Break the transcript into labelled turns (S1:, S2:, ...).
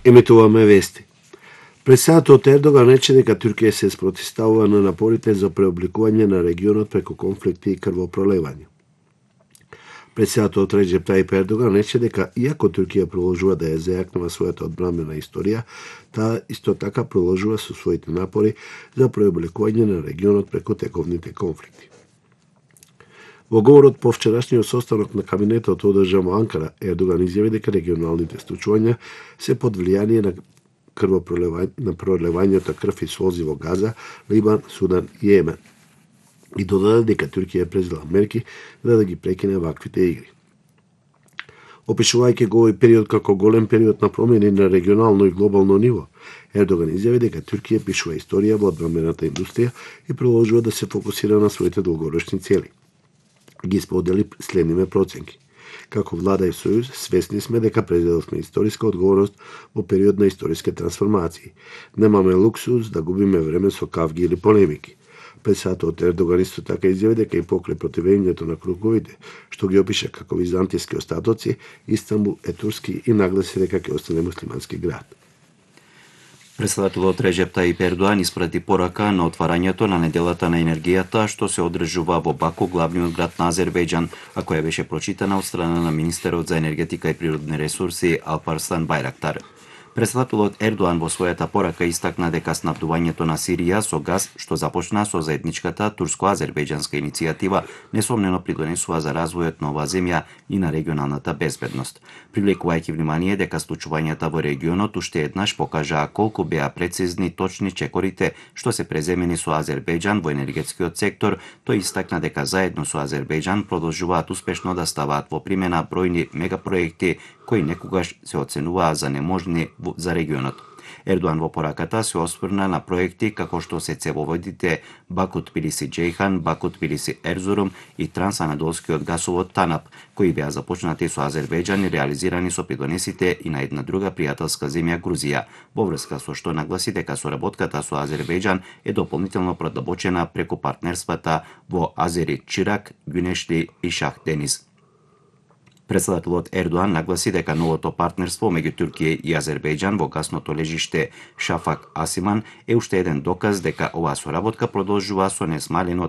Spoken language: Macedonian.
S1: Емитуваме вести. Председателот Ердоган рече дека Туркија се спротивставува на напорите за преобликување на регионот преку конфликти и крвопролевање. Председателот Реджеп Тајип Ердоган рече дека иако Туркија продолжува да ја зајакнува својата одбранбена историја, таа исто така продолжува со своите напори за преобликување на регионот преку тековните конфликти. Во говорот по вчерашниот состанок на кабинетот одржан во Анкара, Ердоган изјави дека регионалните случувања се под влијание на пролевањето крв и солзи во Газа, Либан, Судан и Јемен. И додаде дека Туркија презела мерки за да ги прекине ваквите игри. Опишувајќи го овој период како голем период на промени на регионално и глобално ниво, Ердоган изјави дека Туркија пишува историја во одбранбената индустрија и продолжува да се фокусира на своите долгорочни цели. Ги сподели следниве проценки. Како влада и сојуз, свесни сме дека презеловме историска одговорност во период на историски трансформации. Немаме луксус да губиме време со кавги или полемики. Председателот Ердоган исто така изјави дека и покрај противењето на круговите, што ги опиша како византијски остатоци, Истанбул е турски и нагласи дека ќе остане муслимански град.
S2: Председателот Реджеп Тајип Ердоган испрати порака на отварањето на неделата на енергијата што се одржува во Баку, главниот град на Азербејџан, а која беше прочитана од страна на министерот за енергетика и природни ресурси Алпарслан Байрактар. Председателот Ердоган во својата порака истакна дека снабдувањето на Сирија со газ, што започна со заедничката турско-азербејџанска иницијатива, несомнено придонесува за развојот на оваа земја и на регионалната безбедност. Привлекувајќи внимание дека случувањата во регионот уште еднаш покажаа колку беа прецизни точни чекорите што се преземени со Азербејџан во енергетскиот сектор, тој истакна дека заедно со Азербејџан продолжуваат успешно да ставаат во примена бројни мегапроекти кои некогаш се оценуваа за неможни за регионот. Ердоган во пораката се осврна на проекти како што се цевоводите Баку-Тбилиси-Џејхан, Баку-Тбилиси-Ерзурум и трансанадолскиот гасовод ТАНАП, кои беа започнати со Азербејџан и реализирани со придонесите и на една друга пријателска земја Грузија, во врска со што нагласи дека соработката со Азербејџан е дополнително продабочена преку партнерствата во Азери Чирак, Гюнешли и Шах Дениз. Председателот Ердоган нагласи дека новото партнерство меѓу Туркија и Азербејџан во гасното лежиште Шафак Асиман е уште еден доказ дека оваа соработка продолжува со несмалено